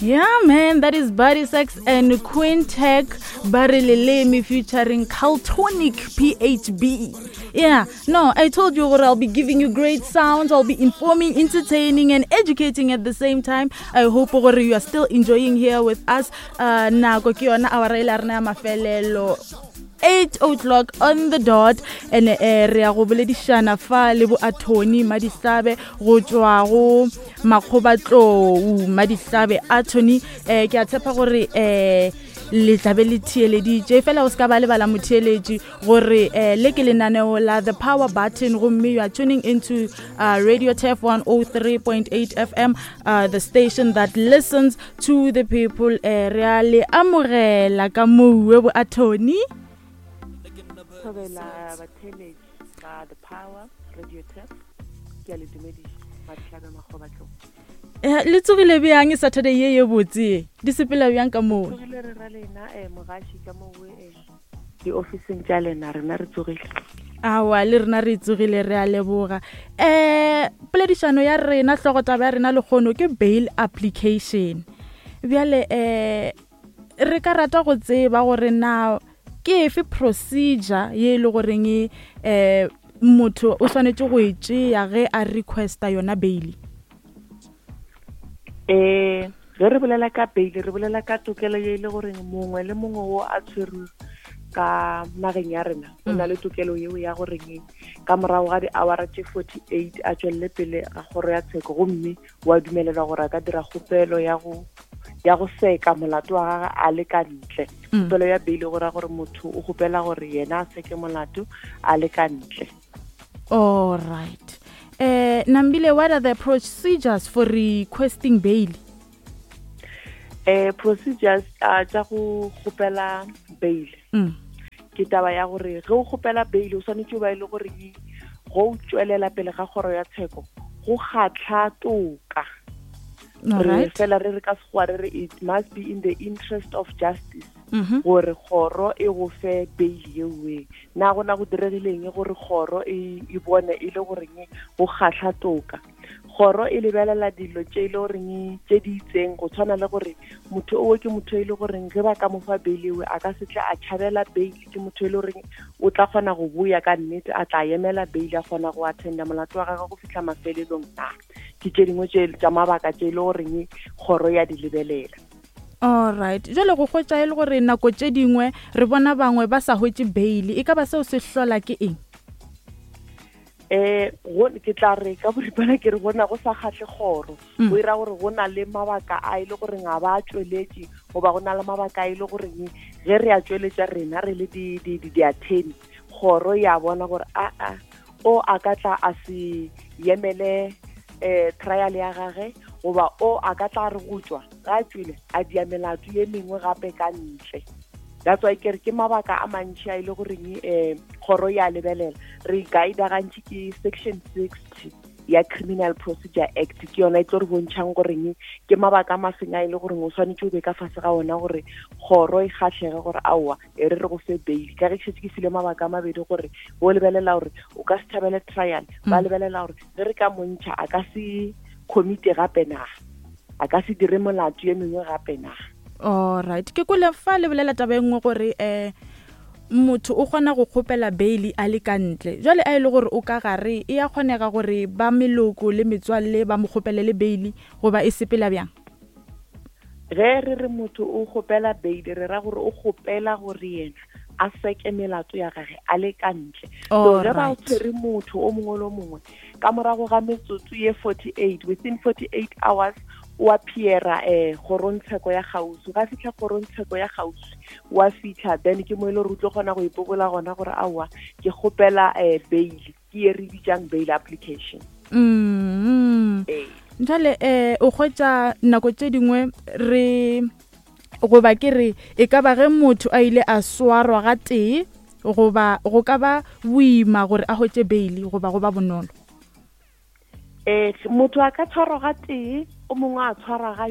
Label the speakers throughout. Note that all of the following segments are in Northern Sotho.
Speaker 1: Yeah, man, that is Body Sex and Quintech Barry Lelemi featuring Caltonic PHB. Yeah, no, I told you what I'll be giving you great sounds. I'll be informing, entertaining, and educating at the same time. I hope gore you are still enjoying here with us. Nako ke yona awara e la rena ya mafelelo 8 o'clock on the dot and eh, re ya go boledišana fa le bo attorney Madihlabe go tšwa go Makgobatlou Madihlabe attorney. Eh, ke a tshepa gore eh le tlabe le theeleditše fela o se ka ba lebala motheeletši gore eh, le ke lenaneo la The Power Button, gomme you are tuning into Radio Tef 103.8 FM, the station that listens to the people. Eh, re a le amogela ka moue bo attorney.
Speaker 2: Thobela batheeletši ba The Power Radio Tef, ke a le dumediša. Madihlabe Makgobatlou.
Speaker 1: Eh, le tsogile bjang Saturday ye ye botse? Di sepela bjang ka moo?
Speaker 2: Tsogile re ra lena, mogaši ka moo, diofising tša lena, rena re tsogile.
Speaker 1: Awa, le rena re tsogile, re a leboga. Poledišano ya rena, hlogotaba ya rena lekgono ke bail application. Bjale re ka rata go tseba gore na ke efe procedure ye e le goreng motho o swanetše go e tšea ge a requesta yona bail?
Speaker 2: Ge re bolela ka bail, re bolela ka tokelo ye e le goreng mongwe le mongwe wo a tshwerwe ka nageng ya rena o na le tokelo yeo ya goreng ka morago ga di-hour tše 48 a tšwelele pele ga kgoro ya tsheko, gomme wa dumelelwa gore a ka dira kgopelo ya go seka molato wa gagwe a le ka ntle. Kgopelo ya bail go ra gore motho o kgopela gore yena a seke molato a le ka ntle.
Speaker 1: All right. Nambile, what are the procedures for requesting bail?
Speaker 2: Procedures tša go kgopela bail. Ke taba ya gore ge o kgopela bail o swanetše o ba e le gore go tšwelela pele ga kgoro ya tsheko go kgatlha toka. Re fela re re ka sekgowa re re it must be in the interest of justice gore kgoro e go fe bail yeoe. Na gona go diregileng gore kgoro e bone e le goreng go kgatlha toka? Kgoro e lebelela dilo tše e le goreng tše di itseng, go tshwana le gore motho owe ke motho e le goreng ge ba ka mo fa bail ewe a ka se tle a tšhabela bail, ke motho e le goreng o tla kgona go boya ka nnete, a tla emela bail, a kgona go attenda molato wa gagwe go fihla mafelelong. Na ke tše dingwe tša mabaka tše e le goreng kgoro ya di lebelela.
Speaker 1: All right. Jwale go hwetša e le gore nako tše dingwe re bona bangwe ba sa hwetše bail, e ka ba seo se hlola ke eng?
Speaker 2: Ke tla re ka boripana ke re bona go sa kgahle kgoro. Go ira gore go na le mabaka a e le goreng ga ba tšweletše, goba go na le mabaka a e le goreng ge re a tšweletša rena re le di-attorney, kgoro ya bona gore a o a ka tla a se yemele trial ya gage, goba o a ka tla re go tšwa ga tšwele a dia melato ye mengwe gape ka ntle. That's why ke re ke mabaka a mantši a e le goreng kgoro ya lebelela. Re guide gantši ke section 60 ya Criminal Procedure Act, ke yona e tlo re bontšhang goreng ke mabaka a mafeng a e le goreng o swanetše o be ka fase ga ona gore kgoro e kgahlege gore aowa e re re go fe bail. Ka ge ke šetše ke file mabaka a mabedi gore bo lebelela gore o ka se thabele trial, ba lebelela gore ge re ka montšha a ka se commit gape na, a ka se dire molato ye mengwe gape na.
Speaker 1: All right. Ke kwele fa le bolela taba e nngwe gore motho o kgona go kgopela bail a le ka ntle. Jwale a e le gore o ka gare, e a kgonega gore ba meloko le metswalle ba mo kgopelele bail, goba e sepela bjang?
Speaker 2: Ge re re motho o kgopela bail, re ra gore o kgopela gore yena a seke melato ya gage a le ka ntle. So ge ba tshwere motho o mongwe le o mongwe ka morago ga metsotso ye 48, within 48 hours o appeara kgorongtsheko ya kgauswi. Ga fihla kgorongtsheko ya kgauswi, wa fihla, then ke mo e le gore o tlo kgona go ipobola gona gore aowa ke kgopela bail, ke ye re bitsang bail application.
Speaker 1: Jwale o hwetša nako tše dingwe re goba ke re e ka ba ge motho a ile a swarwa ga tee, goba go ka ba boima gore a hwetše bail, goba go ba bonolo?
Speaker 2: Motho a ka tshwarwa ga tee, o mongwe a tshwarwa ga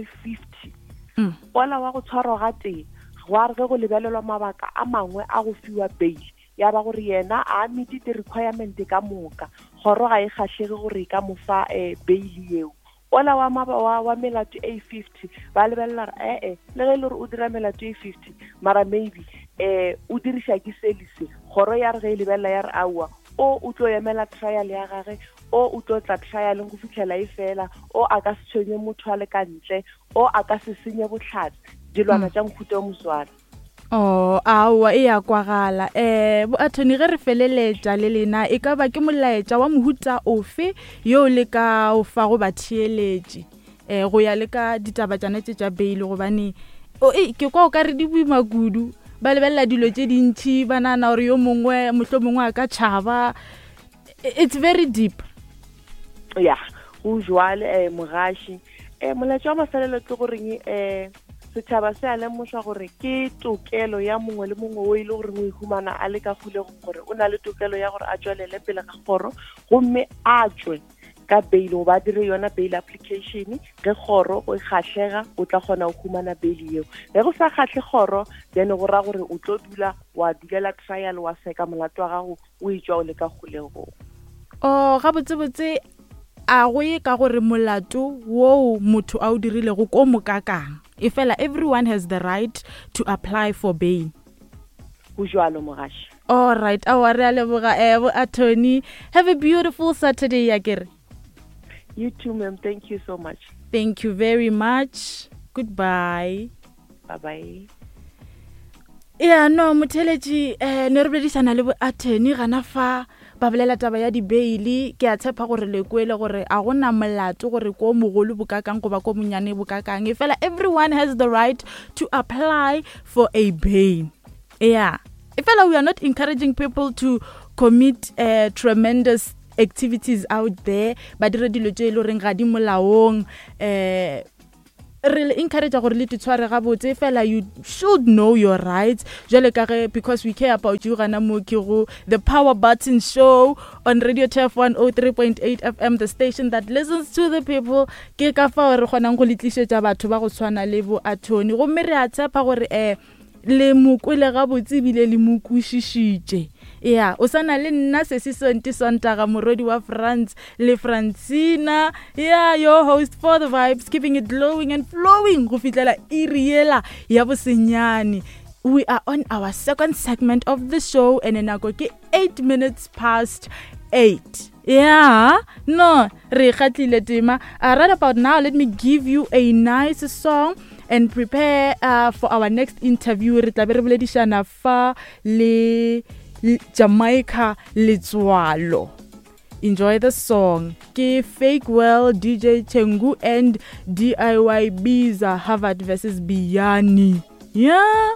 Speaker 2: 50. Ola wa go tshwarwa ga tee, gwa re ge go lebelelwa mabaka a mangwe a go fiwa bail, ya ba gore yena a meet di-requirement ka moka, kgoro ga e kgahlege gore e ka mo fa bail yeo. Ola wa maba wa, wa melato e 50 ba lebelela gore ee le ge e le gore o dira melato e 50 mara maybe um o diriša ke selise kgoro ya re ge e lebelela ya re aowa o o tlo emela trial ya gage o o tlo tla trialeng go fitlhela e fela o a ka se tshwenye motho a le ka ntle o a ka se senye botlhatse dilwana tša mohuta o moswana.
Speaker 1: Oh, aowa e ya kwagala. Eh, bo attorney ge re feleletša le lena e ka ba ke molaetša wa mohuta ofe yo le ka o fago batheeletši eh go ya le ka ditaba tšana tše tša bail gobane o e ke kwa o ka re di boima kudu ba lebelela dilo tše dintšhi ba nagana gore yo mongwe mohlomongwe mongwe a ka tšhaba. It's very deep.
Speaker 2: Ya go jwale eh mogashi eh molaetša wa mafelelo ke goreng eh setšhaba se a lemošwa gore ke tokelo ya mongwe le mongwe o e le goreng o ihumana a le ka kgolegong gore o na le tokelo ya gore a tšwelele pele ga kgoro gomme a tšwe ka bail goba a dire yona bail application. Ge kgoro o e kgahlega o tla kgona go humana bail yeo. Ge go sa kgahle kgoro then go ra gore o tlo dula wa dulela trial wa seka molato wa gago o etšwa o le ka kgolegong.
Speaker 1: O gabotsebotse a go ye ka gore molato woo motho a o dirilego ko mokakang e fela everyone has the right to apply for bail.
Speaker 2: Go jwalo mogaši.
Speaker 1: All right, aowa re a leboga eh bo attorney. Have a beautiful Saturday ya kere.
Speaker 2: You too ma'am, thank you so much.
Speaker 1: Thank you very much. Goodbye.
Speaker 2: Bye bye.
Speaker 1: Ya no motheletši eh ne re boledišana le bo attorney gana fa ba bolela taba ya dibeili. Ke a tshepa gore le kwele gore a gona molato gore ko mogolo bokakang goba ko monyane bokakang, e fela everyone has the right to apply for a bail. Yeah, e fela we are not encouraging people to commit tremendous activities out there, ba dire dilo tše e le goreng ga di molaong. Re le encourage gore le titshware gabotse, fela you should know your rights jwale ka ge because we care about you gana mo ke go The Power Button Show on Radio Turf 103.8 FM, the station that listens to the people. Ke ka fao re kgonang go le tlišetša batho ba go tshwana le bo attorney, gomme re a tshepa gore le mo kwele gabotse ebile le mo kwešišitše. Ya o sana le nna Sesi Sonti Sontaga morwedi wa France le Francina, ya your host for the vibes, keeping it glowing and flowing go fihlela iri yela ya bosenyane. We are on our second segment of the show and nako ke 8 minutes past 8. Yeah, no re kgatlile tema. Right about now, let me give you a nice song and prepare for our next interview. Re tla be re boledišana fa le Jamaica Letswalo. Enjoy the song. Ke Fake Well, DJ Chengu and DIY Biza, Harvard versus Biyani. Yeah.